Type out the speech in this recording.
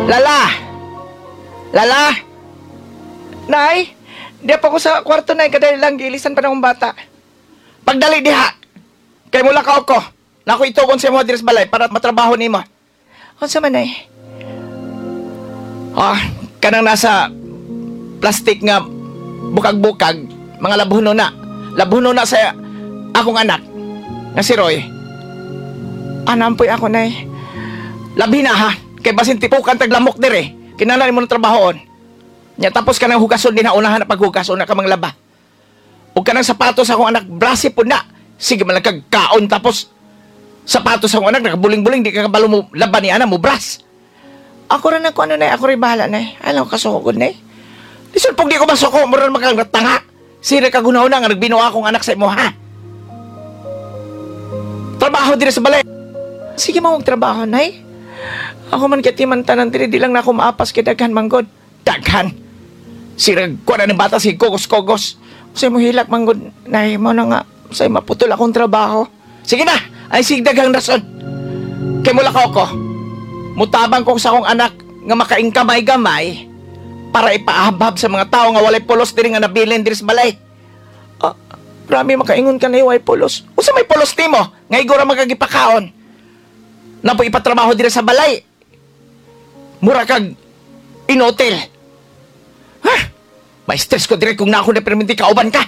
Lala! Lala! Nay! Di pa ko sa kwarto, nay, kadali lang gilisan pa ng bata. Pagdali diha! Kay mula ka ko. Nako itugon sa imo diri sa balay para matrabaho nimo. Unsa man, nay? Ah, kanang nasa plastic nga bukag-bukag, mga labhuno na. Labhuno na sa akong anak nga si Roy. Anampoy ako, nay. Labi na ha. Kay basin tipukan taglamok dire. Kinahanglan mo ng trabahoon. Nya tapos ka ng hugason din na unahan na paghugas una ka manglaba. Ug kanang sapatos akong anak brasi pud na. Sige man lang kag kaon tapos sapatos akong anak nakabuling-buling di ka kabalo mo laban ni ana mo bras. Ako ra na ko ano, nay, ako rin bahala, nay. Alam ka sukod, nay. Lisod pug di ko masuko mo ron makang tanga. Sira ka gunaw na nga nagbinuha akong anak sa imo ha. Trabaho dire sa balay. Sige mo trabaho, nay. Ako man kay timan tanan diri di lang na ako maapas kay daghan manggod. Daghan. Sira ko na ng bata si kogos-kogos. Sa mo hilak manggod, nay, mo na nga say maputol akong trabaho. Sige na, ay sig daghang rason. Kay mula ka ako. Mutabang ko sa akong anak nga makaingkamay-gamay para ipahabhab sa mga tao nga walay pulos diri nga nabilin diri sa balay. Ah, rami makaingon ka na way pulos. Usa may pulos nimo nga igora magagipakaon. Napo ipatrabaho diri sa balay. Mura kag inotel. Ha? May stress ko dire kung na ako na perminti kauban ka.